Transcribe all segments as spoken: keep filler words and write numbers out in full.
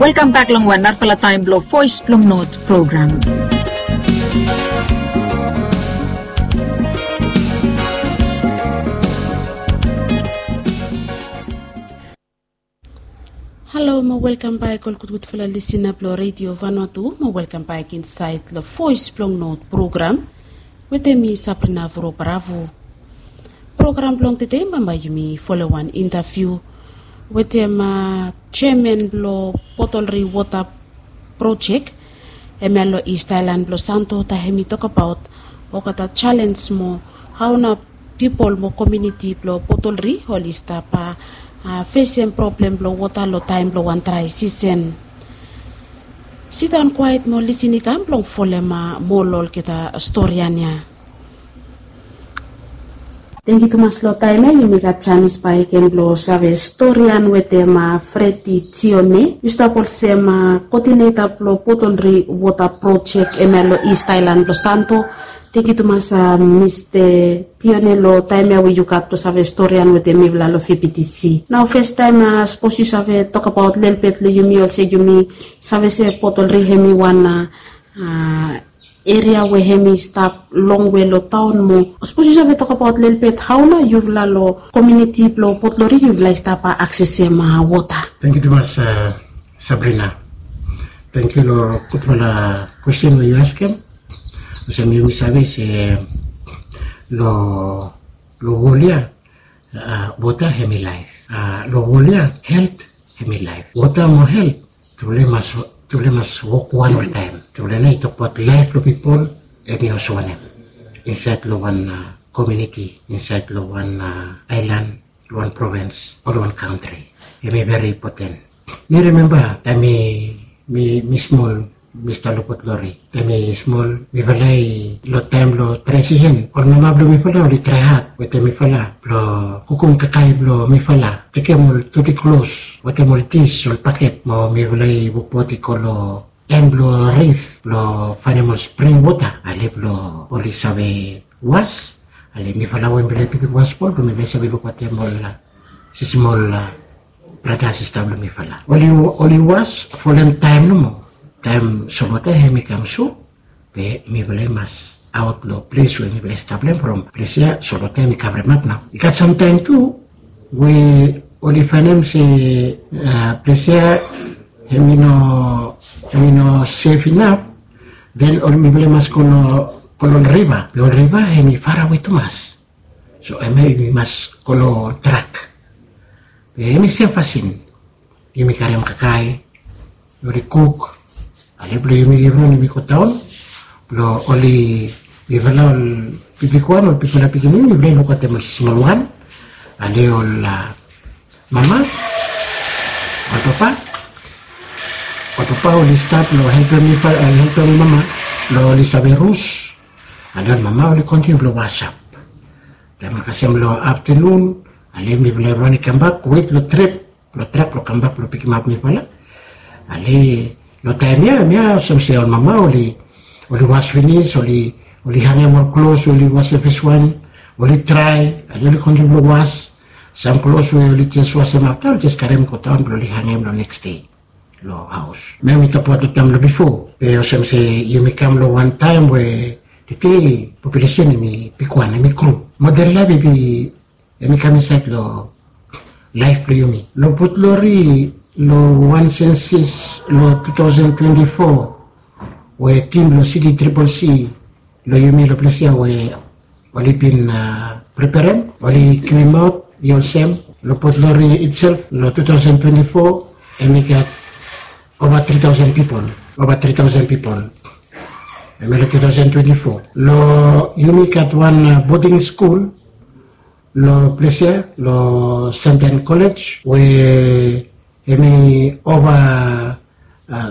Welkam bek long wan narafala taem blong Voes blong Not program. Halo mo welkam bek ol gudgudfala lisina blong Redio Vanuatu mo welkam bek insaed long Voes blong Not program wetem mi Sabrina Vuro Bravo. Program blong tede bambae yumi folem wan intaviu wetem jeaman blong Potolri Wota Projek, hemia long East Aelan blong Santo, taem hemi tokbaot olgeta jalenj mo hao nao pipol mo komuniti blong Potolri oli stap fesem problem blong wota long taem blong wan drae sisen. Sidaon kwaet mo lisin i kam blong folem moa long olgeta storian ya. Tangkiu tumas long taem ya yumi gat janis bakegen blong save storian wetem Fredi Tione. Yu stap olsem koodineta blong Potolri Wota Projek hemia long East Aelan blong Santo. Tangkiu tumas Mista Tione long taem ya we yu gat blong save storian wetem mifala long V P T C. Nao fastaem sapos yu save tokbaot lelebet long yumi olsem yumi save se Potolri hemi wan eria we hemi stap longwe long taon mo sapos yu save tokbaot lelebet hao nao yufala long komuniti blong Potolri yufala i stap aksesem wota. Tangkiu tumas Sabrina. Tangkiu long gudfala kwesten we yu askem. Olsem yumi save se long wol ya wota hemi laef. Long wol ya helt hemi laef. Wota mo helt tufala i mas wok wan oltaem. Tufala nao i tokbaot laef blong pipol hemi olsem wanem insaed long wan komuniti, insaed long wan aelan, long wan provins o long wan kantri. Hemi veri impoten. Mi rimemba taem mi smol, mi stap long Port Lori, taem mi smol mifala i long taem blong transisen ol mama blong mifala oli trae had wetem mifala blong kukum kakae blong mifala, tekem ol doti klos wetem ol dis, ol baket mo mifala i wokbaot i go long en blong rif blong faenem ol spring wota ale blong oli save was. Ale mifala we mifala i bigwan smol blong mifala i save luk wetem ol sismol brata sista blong mifala oli was folem taem nomo. Taem solwota hemi kam sut be mifala i mas aot long ples we mifala i stap long hem from ples ya solwota hemi kavremap nao. I gat samtaem tu we oli faenem se ples ya hemi no sef inap. Den oli mifala i mas go long ol riva be ol riva hemi farawe tumas. So hemia yumi mas go long ol trak be hemi sem fasin yumi karem kakae oli kuk ale blong yumi givron yumi go daon blong oli mifala ol bibigwan ol bigfala pikinini mifala i luk wetem ol smolwan ale ol mama ol papa ol papa oli stap long helpem mifala helpem mama long oli save rus. Ale ol mama oli kontiniu blong wasap taem kasem long aftanun ale mifala evriwan i kambak wet long trep blong trak blong kambak blong pikimap mifala. Ale long taem ya mia olsem se ol mama oli oli was finis oli oli hangem ol klos oli wasem feswan oli drae ale oli kontiniu blong was. Sam klos we oli jes wasem afta oli jes karem i go daon blong oli hangem long neks dei long haos. Mia mi tokbaot long taem long bifo be olsem se yumi kam long wan taem we tete populesen hemi bigwan hemi gru model laef i bi hemi kam insaed long laef blong yumi. Long Port Lori long wan sensis long tu taosen twenti fo we tim blong Siti Tripol C long yumi long ples ya we oli bin preperem oli givemaot i olsem long Port Lori itself long tu taosen twenti fo hemi gat ova tri taosen pipol ova tri taosen pipol. Hemi long tu taosen twenti fo long yumi gat wan boding skul long ples ya long Santan Kolej we hemi ova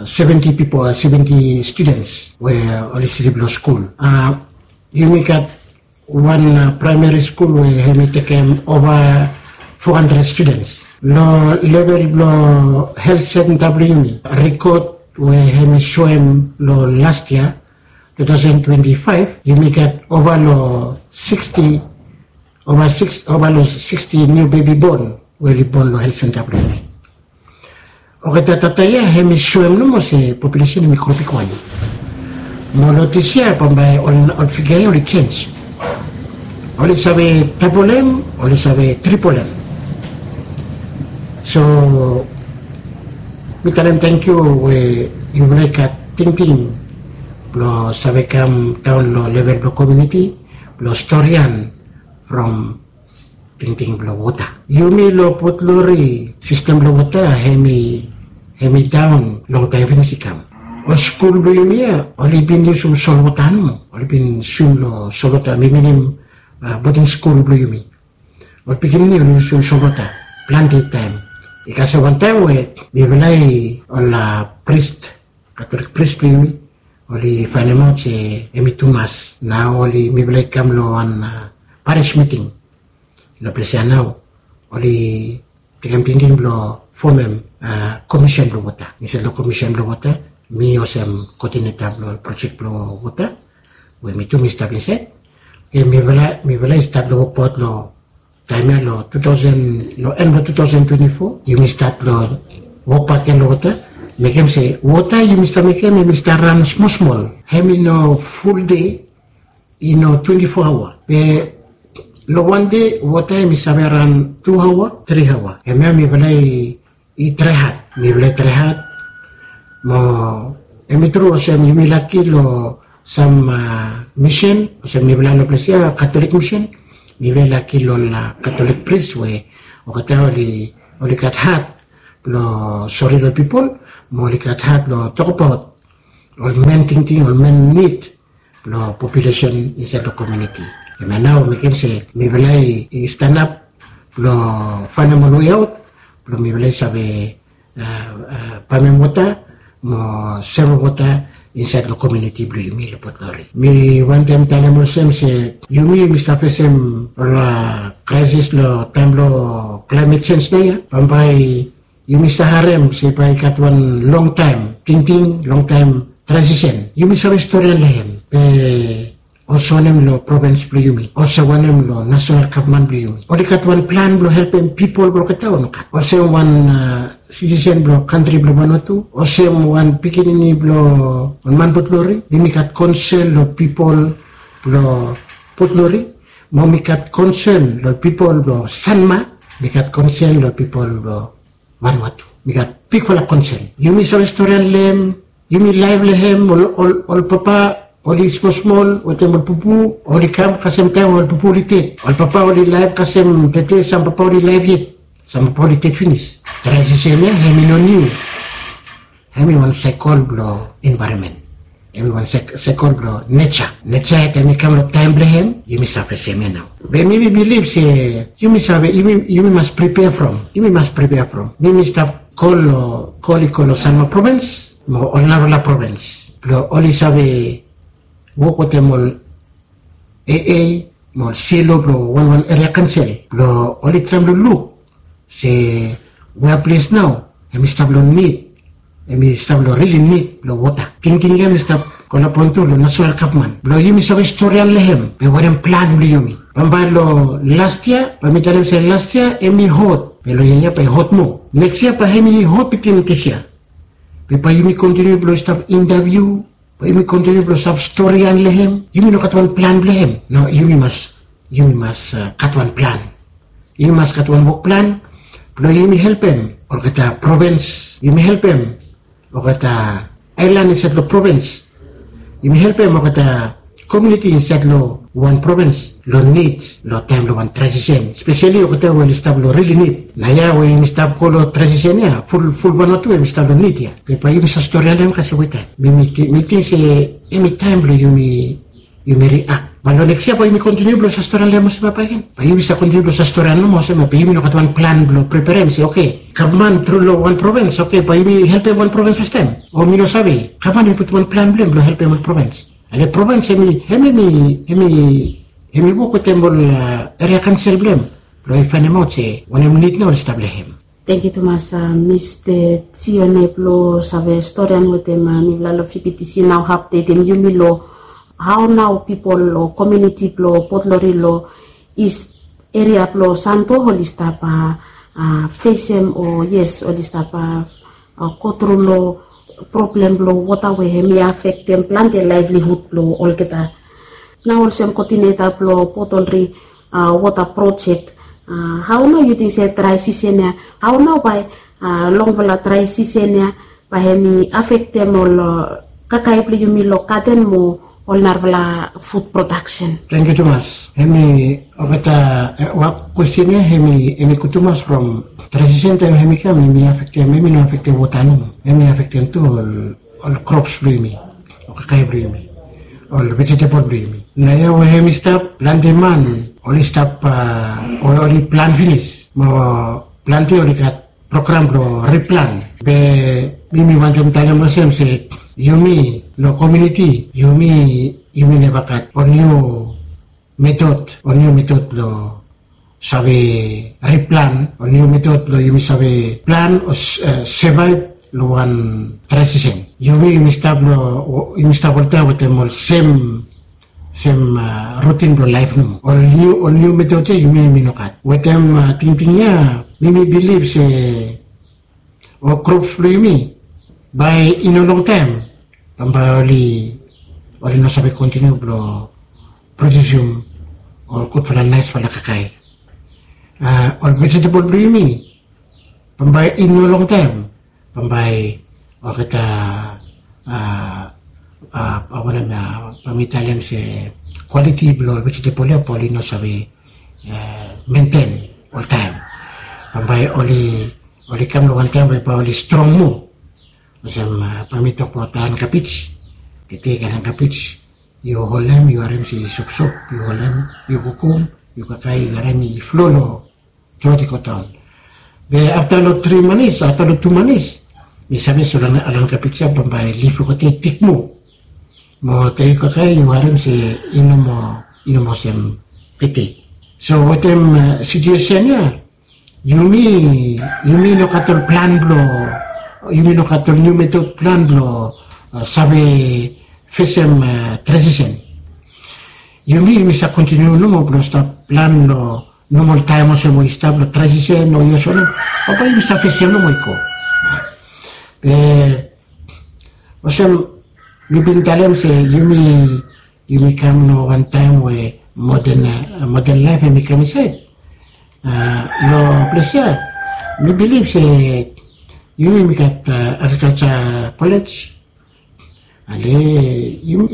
seventi pipol seventi studens we oli slip long skul. Yumi gat wan praemari skul we hemi tekem ova fo handred studens. Long level blong helt senta blong yumi rekod we hemi soem long las yia tu taosen twenti faef yumi gat ova long siksti ova long siksti niu bebi bon we oli bon long helt senta blong yumi. Olgeta data ya hem i soem nomo se populesen hem i gro bigwan. Mo long dis yia bambae ol figa ya oli jenj. Oli save dabol hem, oli save tripol hem. So mi talem tangkiu we yufala i gat tingting blong save kam daon long level blong komiuniti blong storian from tingting blong wota. Yumi long Port Lori sistem blong wota hem i daon longtaem finis i kam. Ol skul blong yumi ya oli bin yusum solwota nomo, oli bin swim long solwota, mi minim boding skul blong yumi. Ol pikinini oli yusum solwota plante taem. I kasem wantaem we mifala i ol pris, Katolik pris blong yumi oli faenemaot se hem i tumas. Nao oli mifala i kam long wan paris miting long ples ya nao oli tekem tingting blong fomem komisen blong wota. Insaed long komisen blong wota mi olsem koodineta blong ol projek blong wota we mi tu mi stap insaed. Oke, mifala i stat long wokbaot long taem ya long tu taosen, long en blong tu taosen twenti fo yumi stat long wokbak ya long wota. Mekem se wota yumi stap mekem hem i stap ran smol smol. Hem i no ful dei, i no twenti fo aoa. Be long wan dei wota hem i save ran tu aoa, tri aoa. Hemia mifala i trae had, mifala i trae had. Mo hem i tru olsem yumi laki long sam misen olsem mifala long ples ya Katolik misen, mifala i laki long ol Katolik pris we olgeta oli gat had blong sori long pipol, mo oli gat had long tokbaot ol men tingting, ol men nid blong populesen insaed long komiuniti. Hemia nao mekem se mifala i stanap blong faenem ol weaot blong mifala i save pamem wota mo sevem wota insaed long komiuniti blong yumi long Port Lori. Mi wantem talem olsem se yumi yumi stap fesem ol kraesis long taem blong klaemet jenj nao ya. Bambae yumi stap harem se bae i gat wan longtaem tingting, longtaem transisen. Yumi save storian long hem, be olsem wanem long provens blong yumi, olsem wanem long nasonal gavman blong yumi? Oli gat wan plan blong helpem pipol blong olgeta o nogat? Olsem wan sitisen blong kantri blong Vanuatu, olsem wan pikinini blong ol man Port Lori, mi mi gat konsen long pipol blong Port Lori, mo mi gat konsen long pipol blong Sanma, mi gat konsen long pipol blong Vanuatu. Mi gat bigfala konsen. Yumi save storian long hem, yumi laef long hem, ol papa oli smol smol wetem ol pupu, oli kam kasem taem ol pupu oli ded. Ol papa oli laef kasem tede, sam papa oli laef yet, sam papa oli ded finis. Transisen ya hem i no niu. Hem i wan saekol blong envaeronmen. Hem i wan saekol blong neja. Neja ya taem i kam long taem blong hem yumi stap fesem ya nao. Be mi mi bilif se yumi save, yumi mas pripea from, yumi mas pripea from. Mi mi stap kol long, kol i go long Sanma provens mo ol narafala provens blong oli save wok wetem ol AA mo ol silo blong wanwan eria kansel blong oli traem long luk se wea ples nao hem i stap long nid, hem i stap long rili nid blong wota. Tingting ya hem i stap kolaboretem long nasonal gavman blong yumi save storian long hem be wanem plan blong yumi. Bambae long las yia bae mi talem se las yia hem i hot, be long yia ya bae i hot moa. Neks yia bae hem i hot bitim dis yia. Be bae yumi kontiniu blong stap intaviu, bae yumi kontiniu blong stap storian long hem. Yumi no gat wan plan blong hem. No, yumi mas, yumi mas gat wan plan. Yumi mas gat wan wok plan blong yumi helpem olgeta provens, yumi helpem olgeta aelan insaed long provens, yumi helpem olgeta komiuniti insaed long wan provens long nid long taem long wan transisen, speseli olgeta we oli stap long rili nid. Nao ya we yumi stap go long transisen ya, ful, ful Vanuatu hem i stap long nid ya. Be bae yumi save storian long hem kasem weta. Mi, mi ting se hem i taem blong yumi, yumi riak. Bae long neks yia bae yumi kontiniu blong save storian long hem olsem ya bakegen. Bae yumi save kontiniu blong save storian nomo olsem ya, be yumi no gat wan plan blong preperem se oke, gavman tru long wan provens, oke, bae yumi helpem wan provens fastaem. O mi no save, gavman i putum wan plan blong hem blong helpem wan provens. Ale provens hem i, hem i, hem i wok wetem ol eria kansel blong hem blong i faenemaot se wanem nid nao oli stap long hem. Tangkiu tumas, Mista Tione, blong save storian wetem mifala long VBTC nao, apdetem yumi long hao nao pipol o komiuniti blong Port Lori long East eria blong Santo oli stap fesem, o yes, oli stap gotru long problem blong wota we hem i afektem plante laevlihud blong olgeta. Nao olsem koodineta blong potolri wota projek, hao nao yu ting se drae sisen ya, hao nao bae longfala drae sisen ya bae hem i afektem ol kakae blong yumi long gaden mo ol narafala fud prodaksen? Tangkiu tumas. Hem i olgeta, wak kwesten ya hem i gud tumas from drae sisen taem hem i kam hem i afektem, hem i no afektem wota nomo, hem i afektem tu ol krops blong yumi, ol kakae blong yumi, ol vejetebol blong yumi. Naoia we hem i stap, plante man oli stap, oli plan finis mo plante oli gat program blong riplan. Be mi mi wantem talem olsem se yumi long komiuniti yumi, yumi neva gat ol niu metod, ol niu metod blong save riplan, ol niu metod blong yumi save plan o sevaev long wan drae sisen. Yumi yumi stap long, yumi stap oltaem wetem ol sem sem rutin blong laef nomo. Ol niu, ol niu metod ya yumi yumi no gat. Wetem tingting ya mi mi bilif se ol krops blong yumi bae i no longtaem bambae oli, oli no save kontiniu blong prodiusim ol gudfala naesfala kakae. Ol vejetebol blong yumi bambae i no longtaem bambae olgeta, a wanem ya, bae mi talem se kwaliti blong ol vejetebol ya bae oli no save menten oltaem. Bambae oli, oli kam long wan taem we bae oli strong moa. Olsem bae mi tokbaot alan kabij. Tete alan kabij yu holem, yu harem se i sopsop, yu holem, yu kukum, yu kakae, yu harem i flo long dot i go daon. Be afta long tri manis, afta long tu manis mi save se alan kabij ya bambae lif blong olgeta i tik moa. Mo taem yu kakae yu harem se i no moa, i no moa olsem tete. So wetem situesen ya yumi, yumi no gat ol plan blong, yumi no gat ol niu metod plan blong save fesem drae sisen. Yumi yumi save kontiniu nomo blong stap plan long nomol taem olsem we i stap long drae sisen o yos wanem, bambae yumi save fesem nomo i go. Be olsem mi bin talem se yumi, yumi kam long wan taem we moden, moden laef hem i kam insaed long ples ya. Mi bilif se yumi yumi gat agrikalja kolej. Ale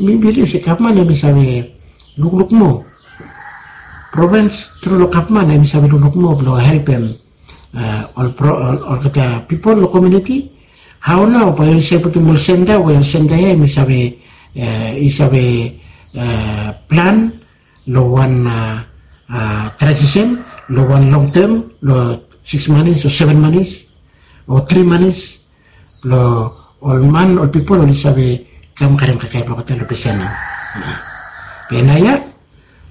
mi bilif se gavman hem i save lukluk moa. Provens tru long gavman hem i save lukluk moa blong helpem ol, olgeta pipol long komiuniti. Hao nao bae yu save putum ol senta we ol senta ya hem i save, i save plan long wan drae sisen, long wan longtem, long sikis manis o seven manis o tri manis, blong ol man, ol pipol oli save kam karem kakae blong olgeta long ples ya nao. Be naoia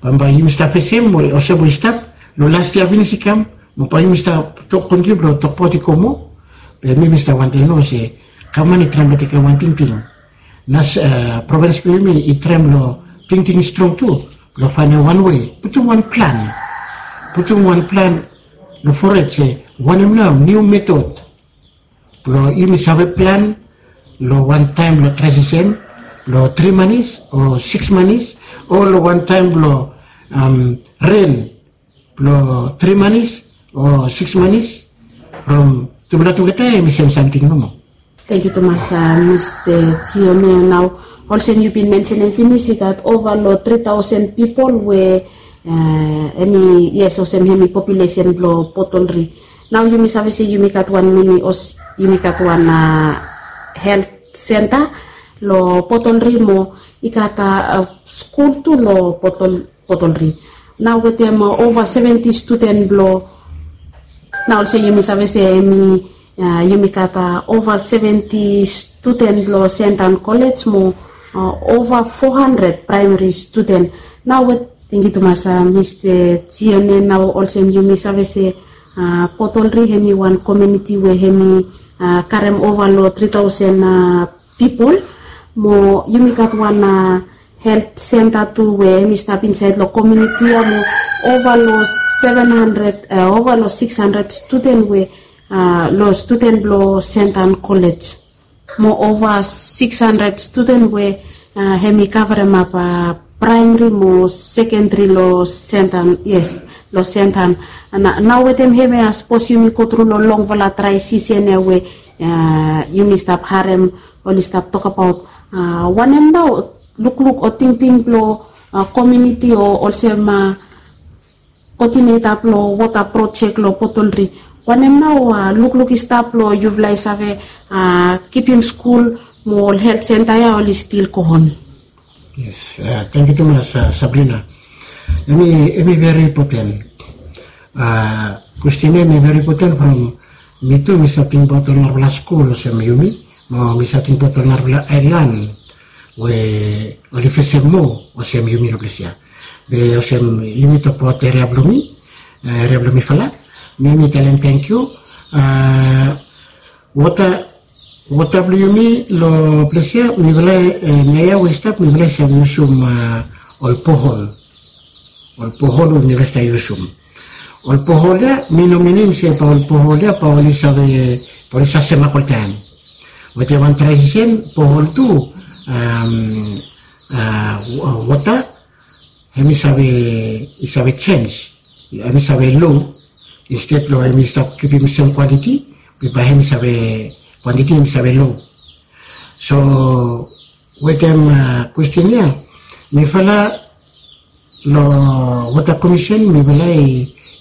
bambae yumi stap fesem olsem we i stap long las yia finis i kam, mo bae yumi stap tok kontiniu blong tokbaot i go moa. Be mi mi stap wantem long se gavman i traem blong tekem wan tingting. Nas, provens blong yumi i traem long tingting strong tu blong faenem wan wei, putum wan plan, putum wan plan long fored se wanem nao niu metod blong yumi save plan long wan taem blong drae sisen, long tri manis o sikis manis, o long wan taem blong ren blong tri manis o sikis manis, from tufala tugeta hem i sem samting nomo. Tangkiu tumas Mista Tione. Nao olsem yu bin mensenem finis i gat ova long tri taosen pipol we hem i, yes, olsem hem i populesen blong Potolri. Nao yumi save se yumi gat wan mini, yumi gat wan helt senta long Potolri mo i gat skul tu long Potolri. Nao wetem ova seventi studen blong, nao olsem yumi save se hem i, yumi gat ova seventi studen blong Sentan Kolej mo ova fo handred praemari studen. Nao we, tangkiu tumas Mista Tione. Nao olsem yumi save se Potolri hem i wan komiuniti we hem i karem ova long tri taosen pipol, mo yumi gat wan helt senta tu we hem i stap insaed long komiuniti ya mo ova long seven handred, ova long sikis handred studen we long studen blong Sentan Kolej. Mo ova siks handred studen we hem i kavaremap praemri mo sekendri long Sentan, yes, long Sentan. Nao wetem hem ya sapos yumi gotru long longfala drae sisen ya we yumi stap harem oli stap tokabaot, wanem nao lukluk o tingting blong komiuniti o olsem koodineta blong wota projek long Potolri, wanem nao lukluk i stap blong yufala i save kipim skul mo ol helt senta ya oli stil go on? Yes, tangkiu tumas Sabrina. Em i veri impoten. Kwestin ya em i veri impoten from mi tu mi save tingbaot ol narafala skul olsem yumi, mo mi save tingbaot ol narafala aelan we oli fesem moa olsem yumi long ples ya. Be olsem yumi tokbaot eria blong mi, eria blong mifala, mi mi talem tangkiu. Wota, wota blong yumi long ples ya mifala, naoia we i stap mifala i save yusum ol bohol. Ol bohol we mifala i save yusum. Ol bohol ya mi no minim se bae ol bohol ya bae oli save, bae oli save semak oltaem. Wetem wan drae sisen bohol tu, wota hem i save, i save jens, hem i save lo. Insted long hem i stap kipim sem kwantiti, be bae hem i save, kwantiti hem i save lo. So wetem kwestin ya, mifala long wota komisen mifala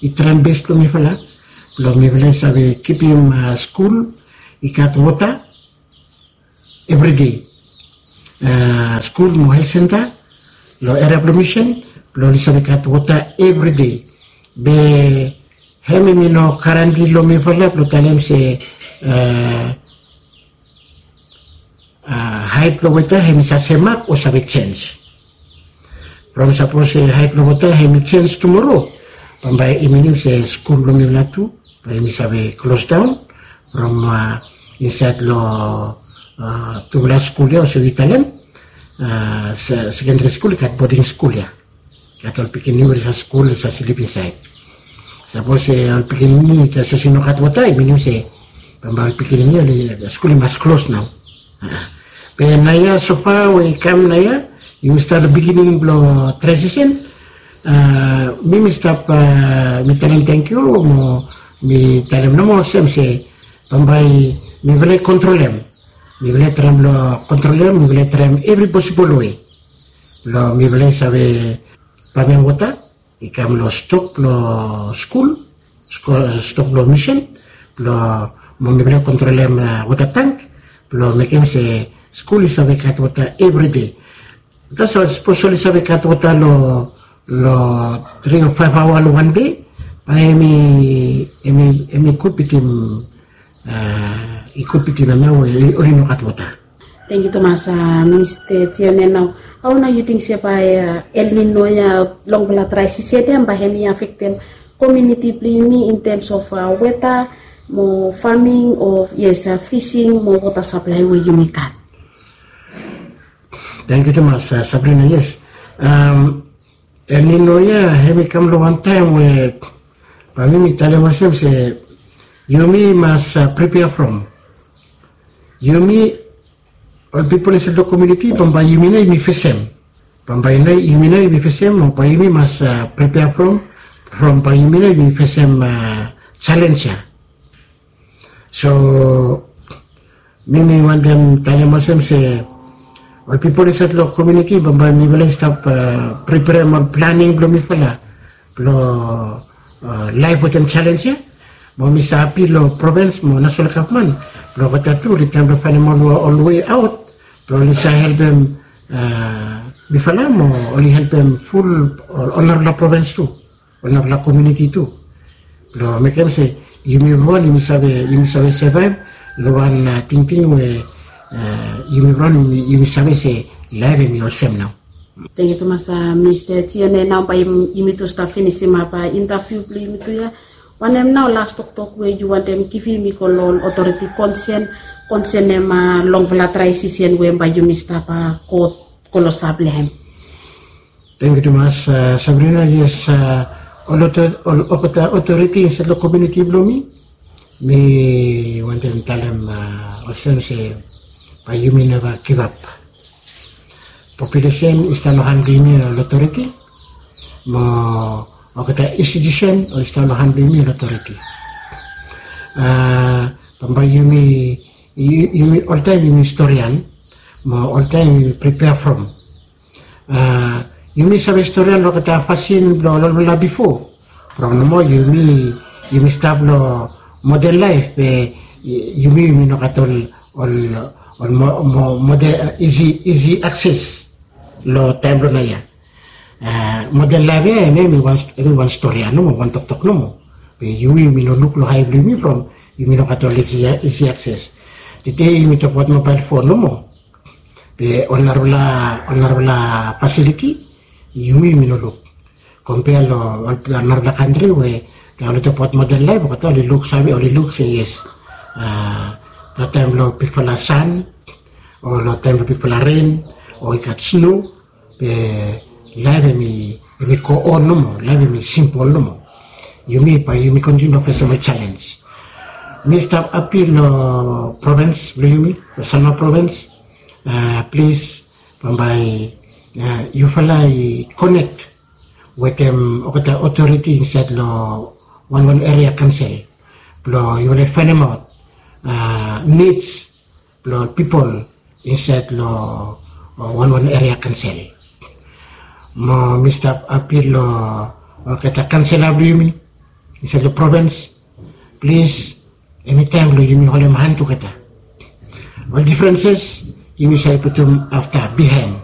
i traem bes blong mifala blong mifala i save kipim skul i gat wota evride. Skul mo helt senta long eria blong misen blong oli save gat wota evride. Be hem i no garanti long mifala blong talem se haet long wota hem i save semak o save jens. From sapos haet long wota hem i jens tumoro, bambae i minim se skul blong mifala tu bae hem i save klosdaon. From insaed long tufala skul ya olsem yu talem, sekendri skul i gat boding skul ya. Gat ol pikinini we oli save skul oli save slip insaed. Sapos ol pikinini sapos i no gat wota i minim se bambae ol pikinini oli skul i mas klos nao. Be naoia sofa we i kam naoia, yumi stap long biginin blong drae sisen. Mi mi stap mi talem tangkiu mo mi talem nomo olsem se bambae mifala i kontrolem. Mifala i traem blong kontrolem, mifala i traem evri posibol we blong mifala i save pamem wota i kam long stok blong skul, stok blong misen blong mo mifala i kontrolem wota tang blong mekem se skul i save gat wota evride. Tasol sapos oli save gat wota long tri o faef aoa long wan dei, bae hem i gud bitim, i gud bitim hem ya we oli no gat wota. Tangkiu tumas Mista Tione. Nao hao nao yu ting se bae El Nino ya, longfala drae sisen ya, bae hem i afektem komiuniti blong yumi in tems of weta mo faming o yes, fising mo wota saplae we yumi gat? Tangkiu tumas Sabrina. Yes, El Nino ya hem i kam long wan taem we bae mi mi talem olsem se yumi mas pripea from. Yumi ol pipol insaed long komiuniti bambae yumi nao yumi fesem. Bambae nao yumi nao yumi fesem o bae yumi mas pripea from, from bae yumi nao yumi fesem jalenj ya. So mi mi wantem talem olsem se ol pipol insaed long komiuniti bambae mifala i stap priperem ol planing blong mifala blong laef wetem jalenj ya. Mo mi save apil long provens mo nasonal gavman blong olgeta tu oli traem blong faenem ol wei aot blong oli save helpem mifala mo oli helpem ful ol narafala provens tu, ol narafala komiuniti tu, blong mekem se yumi evriwan yumi save, yumi save sevaev long wan tingting we yumi evriwan yumi save se laef hem i olsem nao. Tangkiu tumas Mista Tione. Nao bae yumi tu stap finisimap intaviu blong yumi tu ya. Wanem nao las toktok we yu wantem givim i go long ol otoriti konsen konsenem longfala drae sisen we bae yumi stap go klosap long hem? Tangkiu tumas Sabrina. Yes, ol otoriti insaed long komiuniti blong mi Mi wantem talem olsem se bae yumi neva givap. Populesen i stap long han blong yumi ol otoriti, mo olgeta institusen oli stap long han blong yumi ol otoriti. Bambae yumi, yumi oltaem yumi storian, mo oltaem yumi pripea from. Yumi save storian long olgeta fasin blong ol olfala bifo. From nomo yumi, yumi stap long moden laef be yumi yumi no gat ol, ol moden isi akses long taem blong naoia. Moden laef ya em i wan storian nomo, wan toktok nomo. Be yumi yumi no luk long hae blong yumi from yumi no gat ol isi akses. Tede yumi tokbaot mobael fon nomo, be ol narafala fasiliti yumi yumi no luk. Kompea long ol narafala kantri we taem oli tokbaot moden laef olgeta oli luksave, oli luk se yes, long taem blong bigfala san o long taem blong bigfala ren o i gat sno, be laef em i go on nomo, laef em i simpol nomo. Yumi bae yumi kontiniu long fesem ol jalenj. Mi stap apil long provens blong yumi, long Sanma provens, plis bambae yufala i konek wetem olgeta otoriti insaed long wanwan eria kansel blong yufala i faenemaot nids blong ol pipol insaed long wanwan eria kansel. Mo mi stap apil long olgeta kansela blong yumi insaed long provens, plis, em i taem blong yumi holem han tugeta. Ol difrenses yumi save putum afta bihaen.